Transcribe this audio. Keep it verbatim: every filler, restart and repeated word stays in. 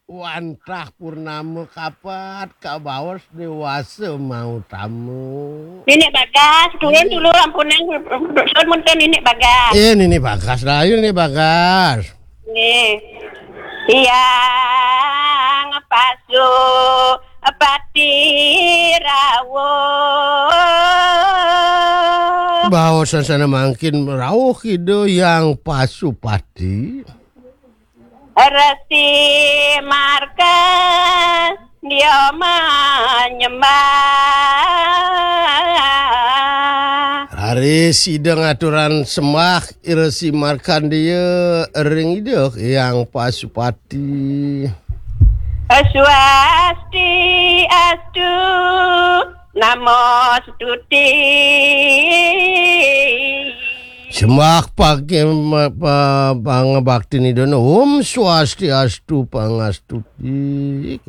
Wantah purnama kapat, kabaos déwasa mautama. Ninik Bagas, duén dulu ampunang, duén munten Ninik Bagas. Eh, Ninik Bagas, rahayu Ninik Bagas. Nggih. Tiang pasu pati rawuh. Baosan sané mangkin rauh Ida Hyang Pasupati. Resi Markandéya menyembah. Raris Ida ngaturang sembah Resi Markandéya ring Ida Hyang Pasupati. Swasti astu, namo stuti. Sembah pagi pa, pangabaktin Ida, Om Swastiastu pangastuti.